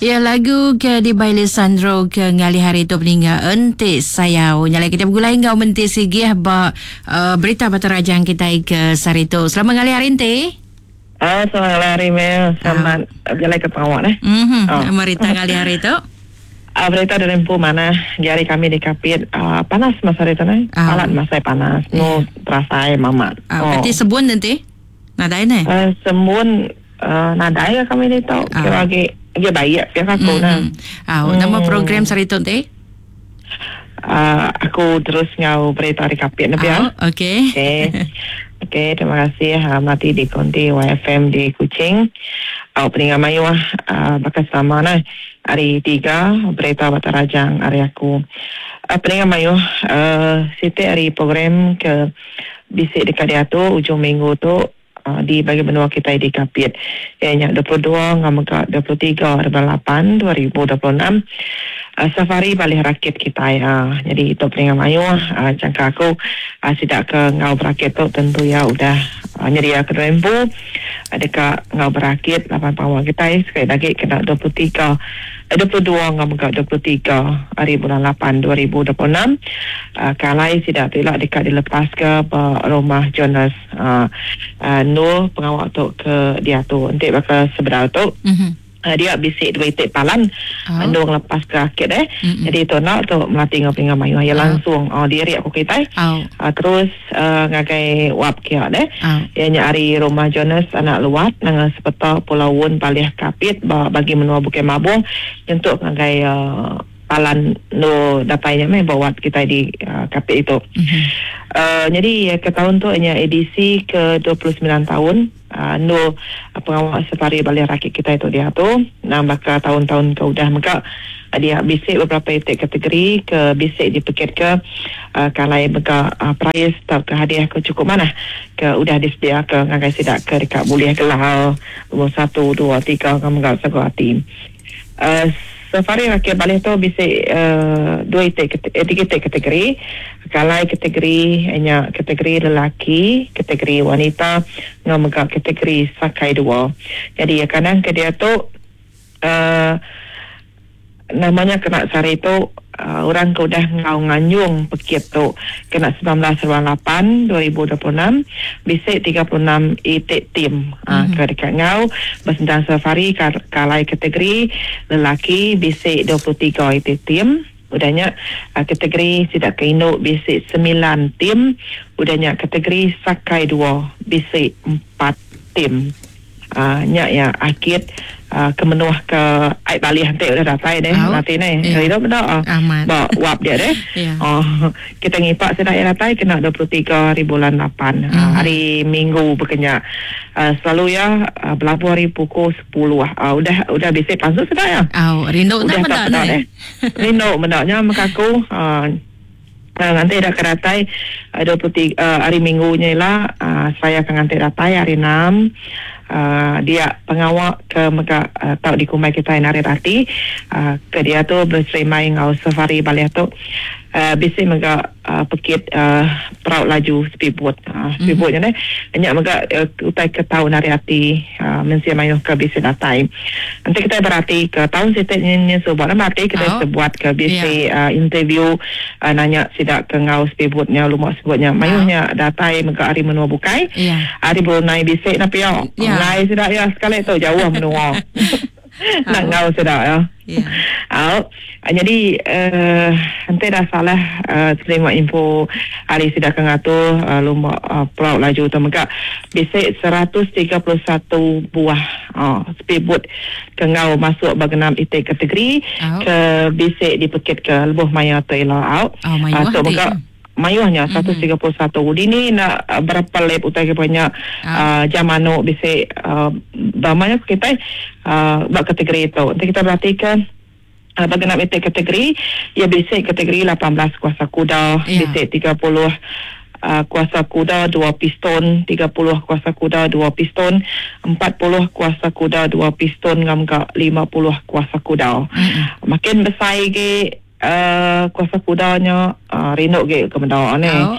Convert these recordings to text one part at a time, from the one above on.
Ya lagu ke dibai Lisandro ke ngalih hari tu peningga enti sayau. Nyalai kita begulai enggau menti sigih ba uh, berita Batu Rajang kita ke sehari tu. Selamat ngalih hari enti. Ah, selamat ngalih hari Mel. Selamat uh. berjalai ke pengawak eh. Mhm. Oh. Berita ngalih hari tu. Uh, berita dari empu mana jari kami di Kapit uh, panas masa hari tu nai. Uh. Palat masa panas. No yeah. terasai mamat. Uh, oh. Kati sebun nanti? Nadai neh? Uh, sembun uh, nadai ke kami ditu. Uh. Kira agi agi baik pia aku mm. nah. Ah, uh, nama program sehari tu ti? Uh, aku terus ngau berita ari Kapit ne pia. Oh, okey. Okey. Okey, terima kasih uh, mati di konti YFM di Kuching. Au peninga mayuh uh, baka selama nah. Hari tiga berita Bata Rajang ari aku. Uh, peninga mayuh uh, siti ari program ke Bisi deka diatur ujung minggu tu di bagi menua kitai di Kapit iya nya 22 enggau mega 23 hari bulan lapan 2026 safari balih rakit kitai nyadi tu peninga mayuh jangka aku sida ke enggau berakit tu tentu iya udah nyedia ke diri empu deka enggau berakit laban pengawa kitai sekali lagi kena 23 22 enggau mega 23 hari bulan lapan 2026 ke alai sida tu ila deka dilepaska ba Rumah Jonas endur pengawa tu ke diatur enti baka sebedau tu. Dia bisi dua iti palan endur ngelepaska akit eh. Jadi tu enda tu melati enggau peninga mayuh iya langsung diri ku kitai terus ngagai wap kia deh. Iya nya ari Rumah Jonas anak Luat nanga sepeta Pulau Wun Palih Kapit ba bagi menua Bukit Mabong nyentuk ngagai palan endur datai nya meh ba wap kitai di Kapit ditu. Nyadi ke taun tu nya edisi ke 29 taun. Endur pengawa safari balih rakit kitai tu diatu nang baka taun-taun ke udah mega dia bisi beberapa iti kategori ke bisi dipekitka ke alai mega perais tauka hadiah ke chukup manah ke udah disediaka ngagai sida ke deka bulih gelar lumur satu, dua, tiga enggau mega sagu ati. Safari Rakit Balih tu bisi dua iti tiga iti kategori. Kalai kategori nya kategori lelaki, kategori wanita enggau mega kategori sakai dua. Nyadi kadang ke diatu uhh nama nya kena sehari tu Orang ke udah enggau nganjung pekit tu kena 19 ruang 8 2026 bisi 36 iti tim ke deka enggau besentang safari ke alai kategori lelaki bisi 23 iti tim, udah nya kategori sida ke indu bisi semilan tim, udah nya kategori sakai dua bisi empat tim. Nya iya akit ke menuh ke ai balih enti udah datai deh lati neh. Rindu meda ba wap dia deh. Kita ngipa sida iya datai kena 23 hari bulan lapan hari minggu baka nya. Selalu iya belabuh ari pukul sepuluh udah udah bisi pansut sida iya. Rindu meda neh. Rindu meda nya mega aku. Nganti ida ke datai 23 hari minggu nya ila saya ke nganti datai hari enam dia pengawa ke mega tau dikumbai kitai narit ati ke diatu beserimbai enggau safari balih tu bisi mega pekit perau laju speedboat. Speedboat nya neh nya mega utai ke tau narit ati. Mensia mayuh ke bisi datai. Enti kitai berati ke taun siti nyin suba nama ati kitai sebuat ke bisi interview nanya sida ke enggau speedboat nya lumba speedboat nya mayuh nya datai mega ari menua bukai. Ari Brunei bisi ne pia. Enggai sida iya sekali tu jauh menua. Enda enggau sida iya. Au. Nyadi enti dah salah terima info ari sida ke ngatur lumba perau laju tu mega bisi 131 buah speedboat ke enggau masuk ba genap iti kategori ke bisi dipekitka lebuh maya tu ila au. Tu mega mayuh nya 131. Dini enda berapa lap utai ke nya jam anu bisi ba mayuh kitai ba kategori tu. Enti kita beratika Ba genap iti kategori, iya bisi kategori 18 kuasa kuda, bisi 30 kuasa kuda dua piston, 30 kuasa kuda dua piston, 40 kuasa kuda dua piston enggau mega 50 kuasa kuda. Makin besai agi. Kuasa kudanya rindu agi ke meda ni. Au.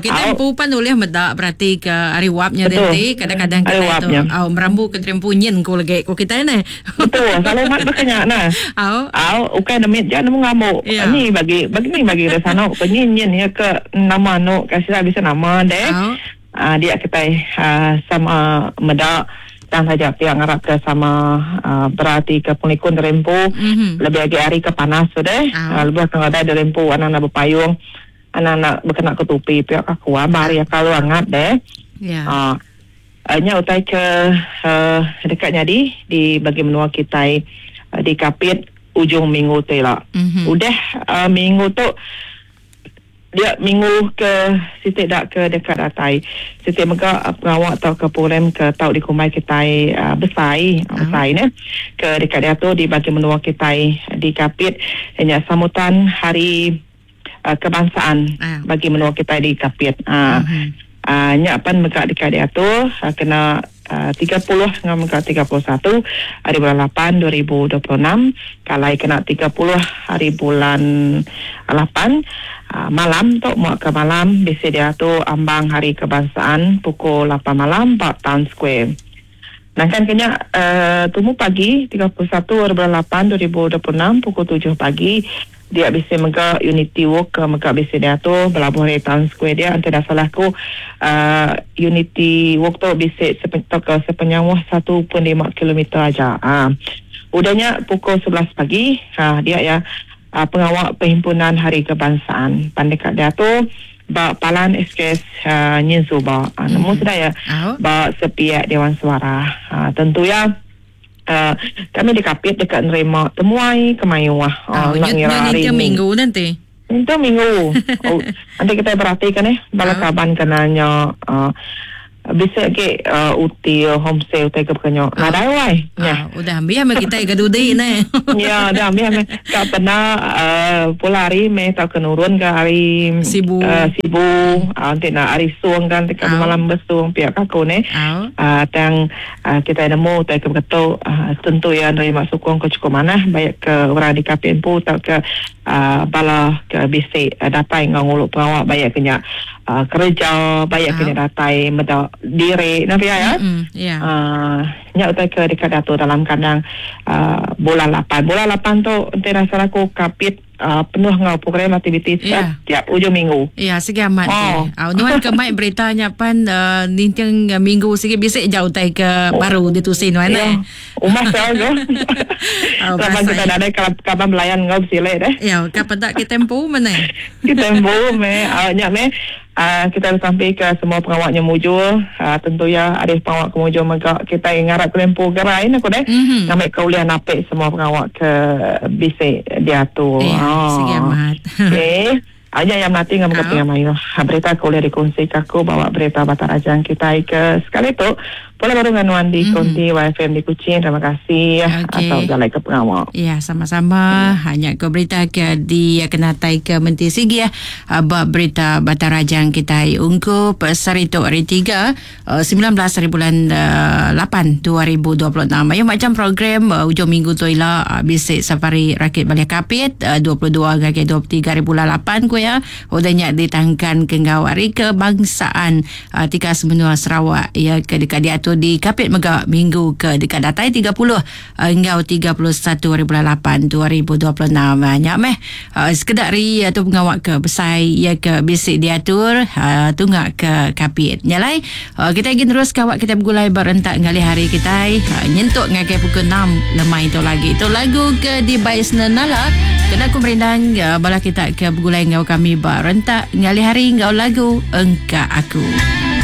Kita empu pan ulih meda berati ke ari wap nya denti kadang-kadang kita tu au merambu ke diri empu nyin ku legi ku kita neh. Betul selalu amat baka nya nah. Au. Au ukai nemit ja nemu ngambu. Ni bagi bagi ni bagi re sanu ke nyin nyin iya ke nama anu ka sida bisi nama deh. Dia kitai sama meda tang taja pia ngarap ke sama berati ke pengelikun diri empu lebih agi hari ke panas tu deh lebuh ke ngadai diri empu anang enda bepayung anang enda bekena ke tupi pia ka ku ba hari kalu angat deh. Nya utai ke deka nyadi di bagi menua kitai di Kapit ujung minggu tu ila. Udah minggu tu. Dia minggu ke siti da ke deka datai. Siti mega pengawa tauka program ke tau dikumbai kitai besai, besai neh, ke deka diatur di bagi menua kitai di Kapit iya nya sambutan Hari Kebangsaan bagi menua kitai di Kapit. Nya pan mega deka diatur kena 30 enggau mega 31 hari bulan lapan 2026 ke alai kena 30 hari bulan lapan malam tu mua ke malam bisi diatur ambang Hari Kebangsaan pukul lapan malam ba Town Square. Nangkan ke nya tumu pagi 31 hari bulan lapan 2026 pukul tujuh pagi Dia bisi mega Unity Walk ke mega bisi diatur belabuh ari Town Square dia enti enda salah aku uhh Unity Walk tu bisi tauka sepenyauh 1.5 kilometer aja uhh. Udah nya pukul 11 pagi uhh dia iya uhh pengawa Perhimpunan Hari Kebangsaan pan deka diatur ba Palan SKS uhh nyin suba uhh nemu sida iya ba sepiak Dewan Suarah uhh tentu iya. Kami dikapit deka nerima temuai ke mayuh enda ngira hari ni. Minggu nanti. Ninting minggu. Enti kitai beratika neh bala kaban ke nanya bisi agi util homestay utai ke baka nya. Nadai wai. Nyah. Udah ambih meh kitai ke dudi neh. Ya udah ambih meh. Ka peda pula hari meh tauka nurun ke hari Sibu. Sibu enti enda hari Song kan ti ka bemalam ba Song pia ka aku neh. Tang Kitai nemu utai ke beketu tentu iya nerima sukung ke chukup manah baik ke orang di Kapit empu tauka bala ke bisi datai enggau ngulu pengawa baik ke nya kereja baik ke nya datai meda diri nya pia ya. Nya utai ke deka diatur dalam kandang bulan lapan. Bulan lapan tu enti rasa aku Kapit penuh enggau program aktiviti setiap ujung minggu. Ya, sigi amat oh. ti. Au nuan ke mai berita nya pan ninting minggu sigi bisi ja utai ke baru ditusi nuan eh. Umbas ya go. Laban kita nadai kaban belayan enggau besilih deh. Ya, ka peda kita empu meh. Kita empu meh. Nya meh. Kitai besampi ke semua pengawa nya mujur. Tentu iya ari pengawa ke mujur mega kitai ngarap ke lempu gerai ne ku deh ngambi ke ulih napi semua pengawa ke bisi diatur. Iya, sigi amat. Okey. Aja iya melati enggau mega pia mayuh berita ke ulih dikunsi ke aku bawa berita Batang Rajang kitai ke sekali tu. Pulai baru enggau nuan di Konti YFM di Kuching. Terima kasih okay. atau jalai ke pengawa. Ya, sama-sama. Ya. Hanya ke berita ke di kenatai ke Menteri Sigi ya. Ba berita Batang Rajang kita ungkup sehari tu hari 3 19 hari bulan 8 2026. Ayo macam program ujung minggu tu ila bisi safari rakit balik kapit 22 ngagai 23 hari bulan 8 ku ya. Udah nya ditangkan ke enggau hari kebangsaan Tikas menua Sarawak iya ke deka diatur di Kapit mega minggu ke deka datai 30 enggau 31 hari bulan 8 2026. Nya meh sekeda ari tu pengawa ke besai iya ke bisi diatur tunga ke Kapit. Nya alai kitai agi nerus ka awak kitai begulai ba rentak ngalih hari kitai nyentuk ngagai pukul 6 lemai tu lagi. Tu lagu ke dibai Senenala kena ku merindang bala kita ke begulai enggau kami ba rentak ngalih hari enggau lagu Engka Aku.